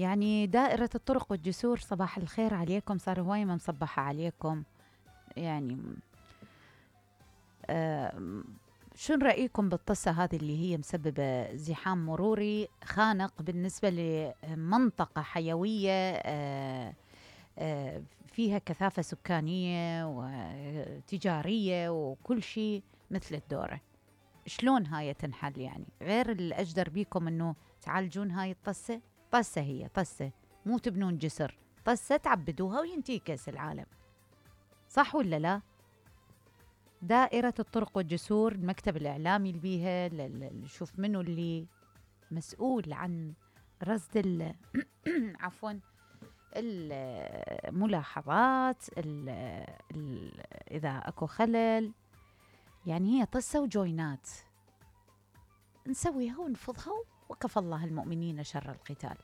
يعني دائرة الطرق والجسور، صباح الخير عليكم، صار هواي ما مصبحة عليكم يعني. شو رأيكم بالطسة هذه اللي هي مسببة زحام مروري خانق بالنسبة لمنطقة حيوية فيها كثافة سكانية وتجارية وكل شيء مثل الدورة؟ شلون هاي تنحل يعني؟ غير الأجدر بيكم أنه تعالجون هاي الطسة. طسة هي طسة، مو تبنون جسر، طسة تعبدوها وينتيكس العالم، صح ولا لا؟ دائرة الطرق والجسور، المكتب الإعلامي اللي بيها شوف منو اللي مسؤول عن رصد عفوا الملاحظات إذا أكو خلل. يعني هي طسة وجوينات نسويها ونفضها وكفى الله المؤمنين شر القتال.